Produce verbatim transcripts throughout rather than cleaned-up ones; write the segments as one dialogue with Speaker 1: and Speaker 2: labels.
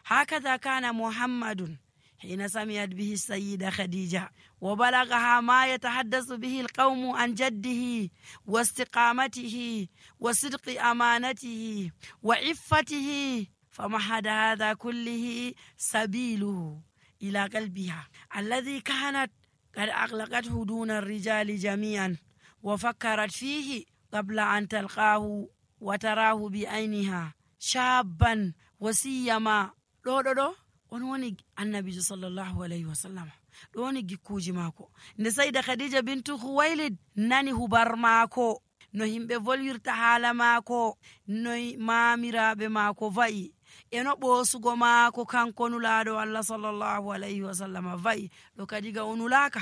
Speaker 1: هكذا كان محمد حين سمعت به السيدة خديجة وبلغها ما يتحدث به القوم عن جده واستقامته وصدق أمانته وعفته، فمهد هذا كله سبيله إلى قلبها الذي كانت قد أغلقته دون الرجال جميعا وفكرت فيه قبل أن تلقاه وتراه بعينها شابا وسيما دو دو دو on woni annabijo sallallahu alayhi wa sallam ɗo woni gikkuji maako. Nde sayda khadija bintu khuwailid nani hubar maako, no himɓe volwirta haala maako, no maamiraɓe maako va'i, e no ɓoosugo maako kanko nulaaɗo Allah sallallahu alayhi wa sallam va'i ɗo kadiga o nulaaka,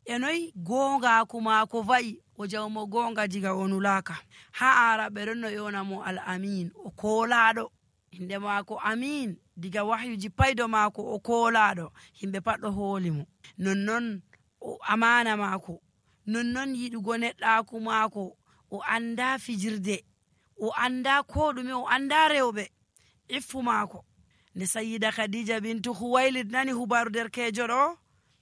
Speaker 1: e noy goongaaku maako va'i o jawmo goonga diga o nulaaka. Ha araɓe ɗon no yona mo al amin, o koolaaɗo, inde maako amin, diga wahyuji paydo maako o koolaaɗo, himɓe pat ɗo hooli mo. Nonnon o amana maako, nonnon yiɗugo neɗɗaaku maako, o anda fijirde, o anda ko ɗume, o anda rewɓe, iffu maako. Nde sayyida khadija bintu khuwailid nani hubaru derkejo ɗo,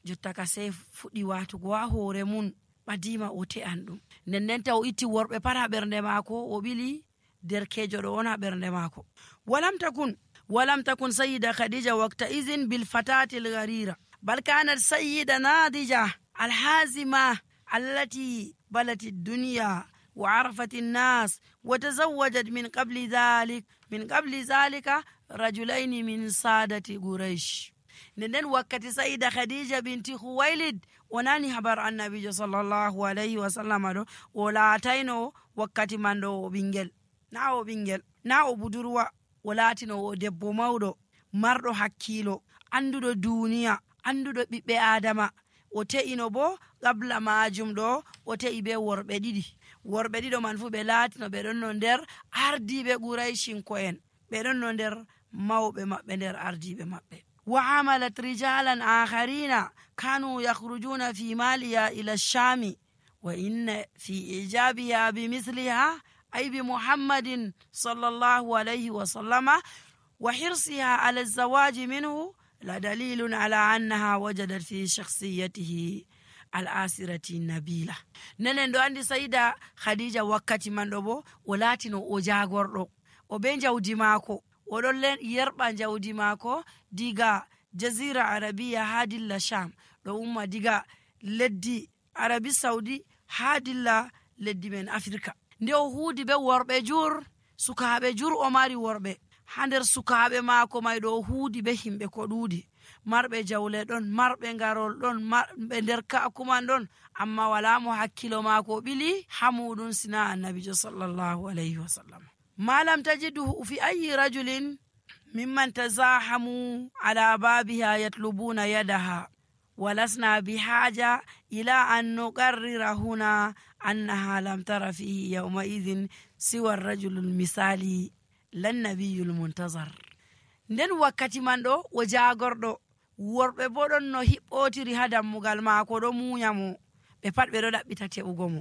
Speaker 1: jotta ka sey fuɗɗi watugo ha hoore mun, ɓadima o te'an ɗum. Nden ndenta o itti worɓe pat ha ɓernde maako, o ɓili derkejo ɗo on ha ɓernde maako. walam takun walam takun sayyida khadija waqta izin bil fatati al gharira bal kanat sayyida nadija al hazima allati balat ad dunya wa arafat an nas wa tazawwajat min qabli dhalik min qabli dhalika rajulain min sadati quraish. Nden wakkati sayyida khadija binti khuwailid onani habar annabijo sallallahu alayhi wa sallam ɗo, o laatayno wakkati man ɗo o ɓingel, na o ɓingel, na o budurwa, o laatino o debbo mawɗo marɗo hakkilo, anduɗo duniya, anduɗo ɓiɓɓe adama. O te'ino bo qabla majum ɗo o te'i be worɓe ɗiɗi, worɓe ɗiɗo man fu ɓe laatino ɓe ɗon no nder ardiɓe quraishinko'en, ɓe ɗon no nder mawɓe maɓɓe nder ardiɓe maɓɓe. wa amalat rijalan akharina kanu yakhrujuna fi maliya ila shami wa inna fi ijabiha bimithliha ay bi muhammadin sallallahu alayhi wa sallama wa hirsiha ala zawaji minhu la dalilun ala annaha wajadat fi shakhsiyatihi al asirati nabila. Nenen do andi sayida khadija wakkati man do bo o latino o jagordo, o be jawdi maako, o don yerba jawdi maako diga jazira arabiya hadilla sham, do umma diga leddi arabi saudi hadilla leddi men afrika. Nde o huudi be worɓe jur, sukaaɓe jur, o mari worɓe ha nder sukaaɓe maako may ɗo o huudi be himɓe ko ɗuuɗi, marɓe jawle ɗon, marɓe ngarol ɗon, marɓe nder ka'kuman ɗon, amma wala mo hakkilo maako ɓili ha muɗum sina annabijo sallallahu alayhi wa sallam. ma lam tajiduhu fi ayi rajulin mimman tazahamu ala babiha yatlubuna yadaha walasna bihaja ila an nuqarrira huna annaha lam tara fihi yawma idhin siwa ar-rajulul misali lan nabiyul muntazar. Nden wakkati man ɗo o jagorɗo, worɓe bo ɗon no hiɓɓotiri ha dammugal maako ɗo munya mo, ɓe pat ɓe ɗo ɗaɓɓita te'ugo mo.